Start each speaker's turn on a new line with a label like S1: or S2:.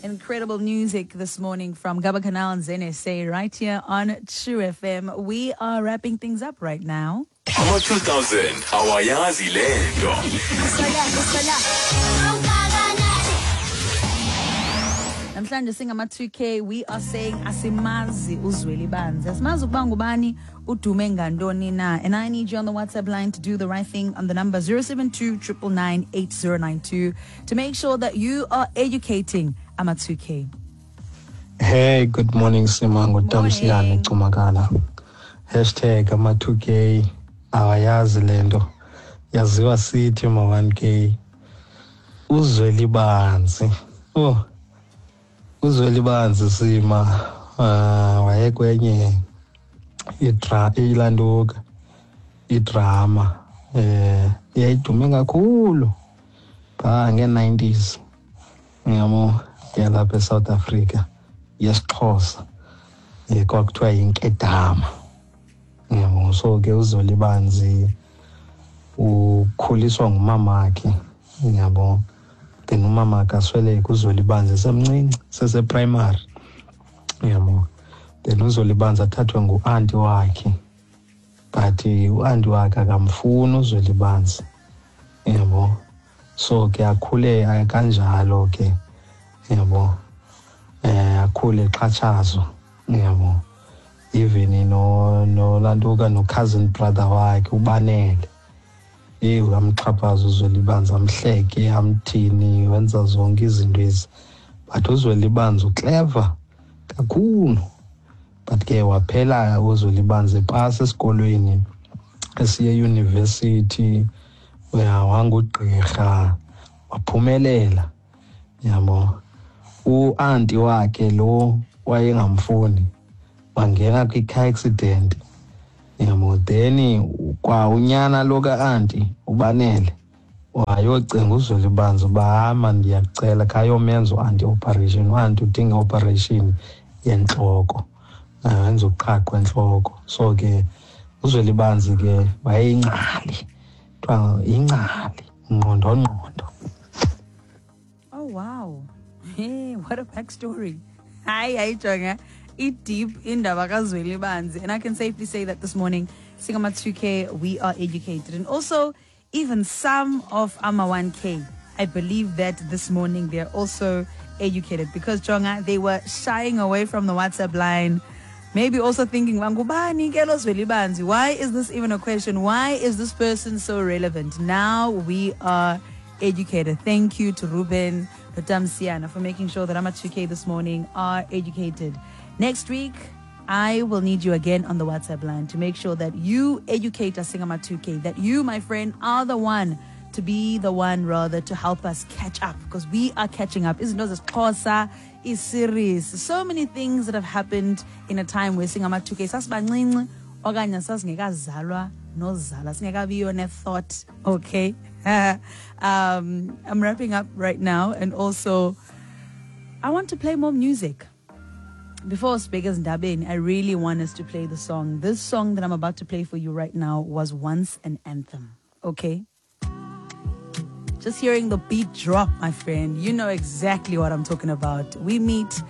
S1: Incredible music this morning from Gaba Canal and Zene Say right here on True FM. We are wrapping things up right now.
S2: Ama-2000 awayazi le nto.
S1: Namhlanje singama-2K, we are saying asimazi uZwelibanzi. Asimazi ukuba ngubani, udume ngantoni na. And I need you on the WhatsApp line to do the right thing on the number 072 999 8092 to make sure that you are educating ama-2K.
S3: Hey, good morning Simango.
S1: Morning.
S3: Tamsiyane Cumakala. Hashtag ama-2K awayazi le nto. Yaziwa sithi ma-1K. Uzwelibanzi. Oh. Uzwelibanzi Sima. Wayekwenye idra ilanduka idrama yayidume kakhulu phaa nge-90s, yabo, yalapha eSouth Africa yesiXhosa, kwakuthiwa yinkedama, yabo. So ke uZwelibanzi ukhuliswa ngumamakhe, yabo. Then umamakhe asweleke uZwelibanzi esemncinci, seseprimary, yabo. Then uZwelibanzi athathwe ngu-anti wakhe, but u-anti wakhe akamfuni uZwelibanzi, yabo. So ke akhule kanjalo ke, yabo, akhule exhatshazwa, yabo. Even no nolantuka no-cousin brother wakhe uBanele, amxhaphaza uZwelibanzi, amhleke, amthini, wenza zonke izinto ezi. But uZwelibanzi uclever kakhulu. But ke waphela uZwelibanzi epasa esikolweni, esiye eyunivesithi, wangugqirha, waphumelela, yabo. U-anti wakhe lo wayengamfuni wangena kwi-car accident, yabo. Then kwa unyana lo ka-anti uBanele wayocinga uZwelibanzi uba hama, ndiyakucela khayomenza u-anti operation. U-anti udinga operation yentloko, wenza uqhaqho entloko. So ke uZwelibanzi ke wayeyingcali, kuthiwa yingcali, ngqondongqondo.
S1: Oh wow. Hey, what a backstory. Hi, hi, Jonga. It deep in Banzi. And I can safely say that this morning, Singama 2K, we are educated. And also, even some of Ama 1K, I believe that this morning they're also educated. Because, Jonga, they were shying away from the WhatsApp line. Maybe also thinking, "Wangubani ke lo Zwelibanzi? Why is this even a question? Why is this person so relevant?" Now we are educated. Thank you to Ruben Tamsiana for making sure that Ama 2K this morning are educated. Next week, I will need you again on the WhatsApp line to make sure that you educate us, Singama 2K, that you, my friend, are the one to be the one, rather, to help us catch up, because we are catching up. Izinto zesiXhosa, i-series, so many things that have happened in a time where Singama 2K sasibancinci okanye sasingekazalwa nozalwa, singekabiyo ne-thought, okay? I'm wrapping up right now, and also I want to play more music. Before Speakers Ndabeni, I really want us to play the song. This song that I'm about to play for you right now was once an anthem, okay? Just hearing the beat drop, my friend, you know exactly what I'm talking about. We meet